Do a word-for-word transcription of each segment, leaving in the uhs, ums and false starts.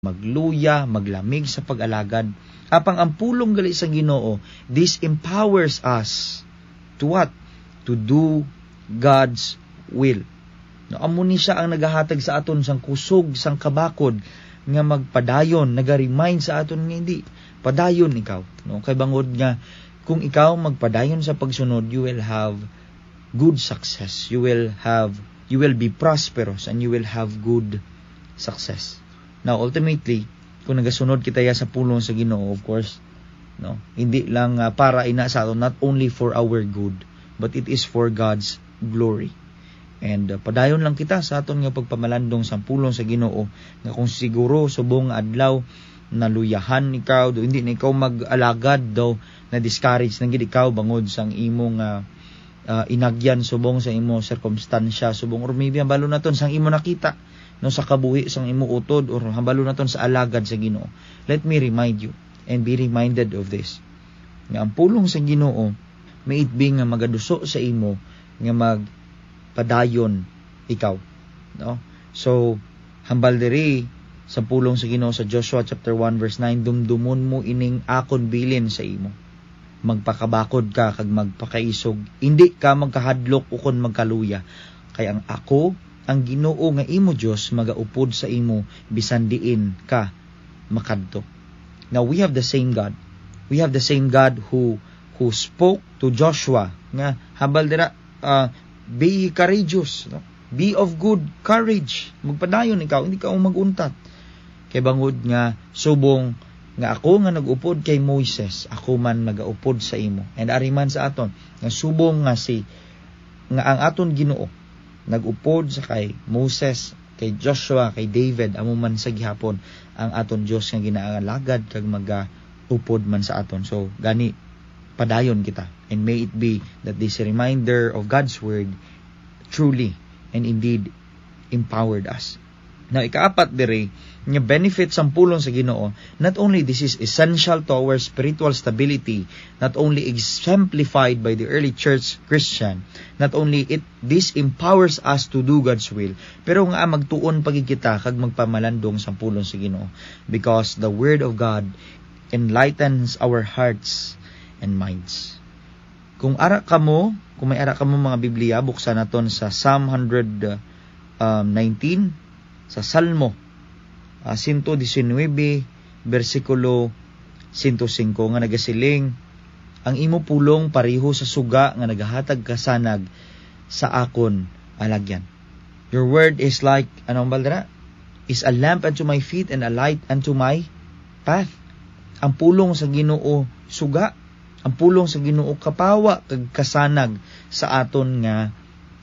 magluya, maglamig sa pag-alagad. Apang ang pulong gali sa Ginoo, this empowers us to what? To do God's will. No, amo ni siya ang nagahatag sa aton sang kusog, sang kabakod nga magpadayon, naga-remind sa aton nga hindi, padayon ikaw, no? Kay bangod nga kung ikaw magpadayon sa pagsunod, you will have good success. You will have, you will be prosperous and you will have good success. Now, ultimately, kung nagasunod kita ya sa pulong sa Ginoo, of course, no, hindi lang, ah, para ina sa aton, not only for our good, but it is for God's glory. And, uh, padayon lang kita sa aton nga pagpamalandong sang pulong sa Ginoo, nga kung siguro subong nga adlaw naluyahan ikaw, do hindi na ikaw mag-alagad, daw na-discourage na gid ikaw bangod sang imong, ah, ah, inagyan subong sa imo sirkumstansya, subong, or maybe hambalo naton sang imo nakita, no, sa kabuhi sang imo utod, or hambalo naton sa alagad sa Ginoo. Let me remind you and be reminded of this, nga ang pulong sa Ginoo may it be nga magaduso sa imo nga magpadayon ikaw, no? So, hambal diri sa pulong sa Ginoo sa Joshua chapter one verse nine, "Dumdumon mo ining akon bilin sa imo. Magpakabakod ka kag magpakaisog. Indi ka magkahadlok ukon magkaluya, kay ang ako, ang Ginoo nga imo Dios, magaupod sa imo bisan diin ka makadto." Now, we have the same God. We have the same God who, who spoke to Joshua nga hambal dira, ah, "Be courageous, no? Be of good courage. Magpadayon ikaw, hindi ka mag-untat. Kay bangod nga subong nga ako nga nag-upod kay Moises, ako man nagaupod sa imo." And ari man sa aton, nga subong nga si, nga ang aton Ginoo nag-upod sa kay Moses, kay Joshua, kay David, amo man sa gihapon ang aton Dios nga ginaalagad kag magaupod man sa aton. So, gani, padayon kita. And may it be that this reminder of God's word truly and indeed empowered us. Now, ikaapat diri, nga benefit sang pulong sa Ginoo, not only this is essential to our spiritual stability, not only exemplified by the early church Christian, not only it, this empowers us to do God's will, pero nga magtuon pa gid kita kag magpamalandong sang pulong sa Ginoo, because the word of God enlightens our hearts and minds. Kung ara kamo, kung may ara kamo mga Biblia, buksan naton sa Psalm hundred, um, nineteen, sa Salmo, ah, sento disinuybe, bersikulo sento singko, nga nagasiling, "Ang imo pulong pareho sa suga nga nagahatag kasanag sa akon alagyan." Your word is like, ano ang baldra? "Is a lamp unto my feet and a light unto my path." Ang pulong sa Ginoo suga, ang pulong sa Ginoo kapawa kag kasanag sa aton nga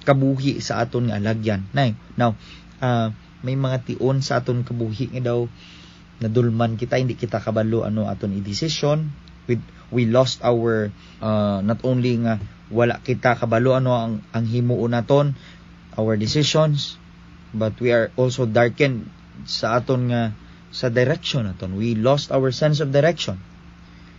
kabuhi, sa aton nga alagyan. Nay, now, ah, may mga tion sa aton kabuhi nga daw nadulman kita, hindi kita kabalo ano aton i-desisyon. We, we lost our, uh, not only nga wala kita kabalo ano ang, ang himuon naton, our decisions, but we are also darkened sa aton nga, sa direction naton. We lost our sense of direction.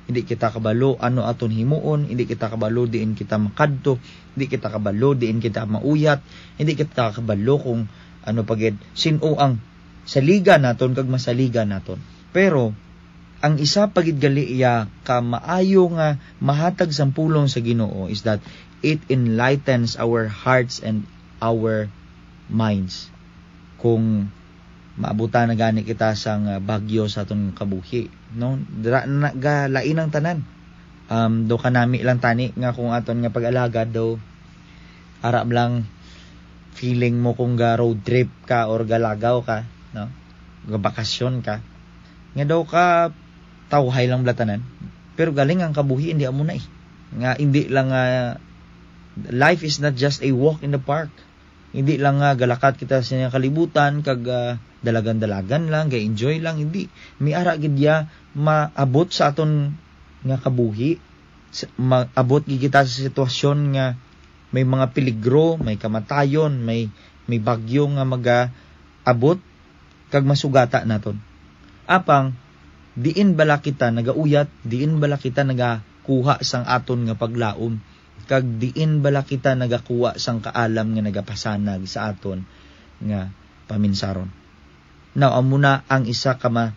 Hindi kita kabalo ano aton himuon, hindi kita kabalo diin kita makadto, hindi kita kabalo diin kita mauyat, hindi kita kabalo kung ano pa gid, sin-o ang saligan naton kag masaligan naton. Pero ang isa pa gid gali iya ka maayo nga mahatag sang pulong sa Ginoo is that it enlightens our hearts and our minds. Kung maabutan na gani kita sang, ah, bagyo sa aton kabuhi, no? Dira na nagalain ang tanan. Um, do kanami lang tani nga kung aton nga pag-alagad do, ara lang feeling mo kung ga road trip ka or galagaw ka, no? Gabakasyon ka. Nga daw ka tawhay lang bala tanan. Pero galing ang kabuhi, hindi amo na eh. Nga hindi lang, ah, life is not just a walk in the park. Hindi lang nga galakat kita sa kalibutan kag, ah, dalagan-dalagan lang, ga-enjoy lang, hindi. May ara gid ya maabot sa aton nga kabuhi. Sa, maabot gid kita sa sitwasyon nga may mga peligro, may kamatayon, may, may bagyo nga magaabot kag masugata naton. Apang, diin bala kita nagauyat, diin bala kita nagakuha sang aton nga paglaom, kag diin bala kita nagakuha sang kaalam nga nagapasanag sa aton nga paminsaron? Now, amo na ang isa ka ma-,